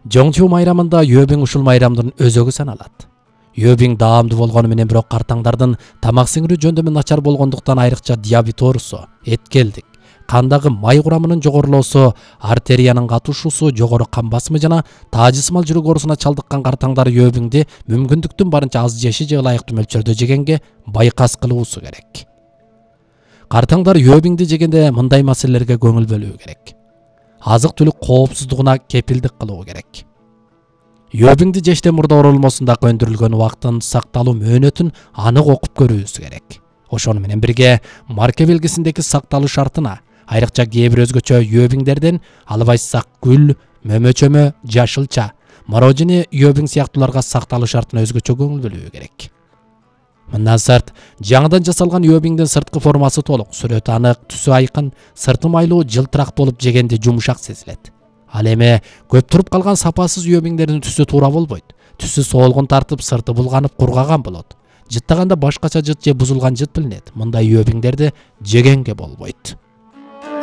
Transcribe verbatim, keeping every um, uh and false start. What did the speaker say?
Жоңчу майрамында Йөбиң ушул майрамдын өзөгү саналат. Йөбиң даамдуу болгону менен бирок картаңдардын тамак сиңирүү жөндөмү начар болгондуктан айрыкча диабет оорусу, эткелдик, кандагы май курамынын жогорулоосу, артериянын катышуусу, жогору кан басымы жана таажысымал жүрөк оорусуна чалдыккан картаңдар Йөбиңди мүмкүндүктүн барынча аз жеши же ылайыктуу мөлчөрдө жегенге байкас кылуусу керек. Картаңдар Йөбиңди жегенде мындай маселелерге көңүл бөлүү керек. Азык-түлүк коопсуздугуна кепилдик кылуу керек. Йөбиңди жештен мурда оролмосундагы өндүрүлгөн убакыттын сакталуу мөөнөтүн анык окуп көрүүбүз керек. Ошону менен бирге марка белгисиндеги сакталуу шартына, айрыкча кээ бир өзгөчө Йөбиңдерден албайсак гүл, мөмөчөмө, жашылча, мороженое Йөбиң сыяктууларга сакталуу шартына өзгөчө көңүл бөлүү керек. Мындан сырт, жаңыдан жасалган Йөбиңдин сырткы формасы толук, сүрөтү анык, түсү айкын, сырты майлуу, жылтырак болуп жегенде жумшак сезилет. Ал эми көп туруп калган сапасыз Йөбиңдердин түсү туура болбойт. Түсү солгун тартып, сырты булганып, кургаган болот. Жыттаганда башкача жыт же бузулган жыт билинет. Мындай Йөбиңдерди жегенге болбойт.